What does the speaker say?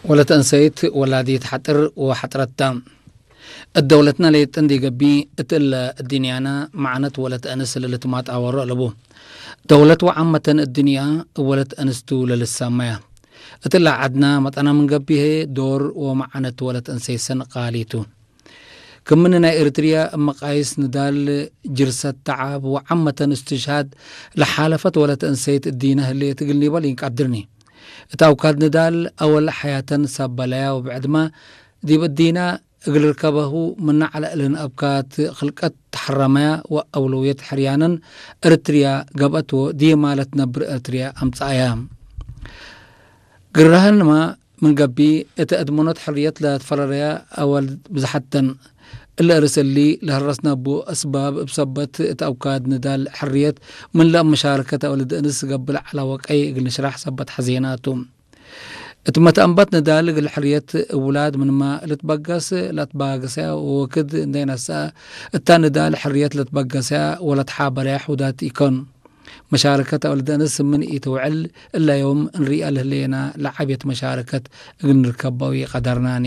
ወለት እንሰይት ወላዲት ሓጥር ወሓጥረታ። እደውለትና ለየጥን ዲገቢ እትእለ እዲንያና መዓነት ወለት እንስ ልልትማት ኣወሮ ኣለቡ። ደውለት ወዓመተን እድንያ ወለት እንስቱ ለልሳማያ። እትላ ዓድና መጠና ምን ገቢሄ ዶር ወመዓነት ወለት እንሰይሰን ቃሊቱ። ክምን ናይ ኤርትርያ እመቃይስ ንዳል ጅርሰት ተዓብ ወዓመተን እስትሽሃድ ለሓለፈት ወለት እንሰይት እዲና ህልየት እግል ኒበል ይንቃድርኒ። እታ ኣውካድ ንዳል ኣወል ሓያተን ሳበላያ ወብዕድማ ዲብ እዲና እግል ርከበሁ ምናዕ ለእልን ኣብካት ክልቀት ተሐረመያ ወአውለውየት ሕርያነን እርትርያ ገብአትዎ ዲየ ማለት ነብር እርትርያ ኣምጽኣያ። ግራህንማ ምን ገቢ እተ እድመኖት ሕርየት ለትፈረረያ ኣወል ብዝሓተን እለ እርስ እሊ ለህረስናቡ እስባብ እብ ሰበት እት ኣውካድ ንዳል ሕርየት ምን ለእብ መሻረከት ኣወልድ እንስ ገብለ ዐላ ወቀይ እግል ንሽራሕ ሰበት ሐዜናቱ። እት መትአንባት ንዳል እግል ሕርየት እውላድ ምንማ ልትበገስ ለትባገሰያ ወወክድ እንዴ ነስአ እታ ንዳል ሕርየት ለትበገሰያ ወለትሓበረያ ሑዳት ኢኮን። መሻረከት ኣወልድ እንስ ምን ኢትውዕል እለ ዮም እንሪአ ልህሌና ለዓብየት መሻረከት እግል ንርከባዊ ቀደርናኒ።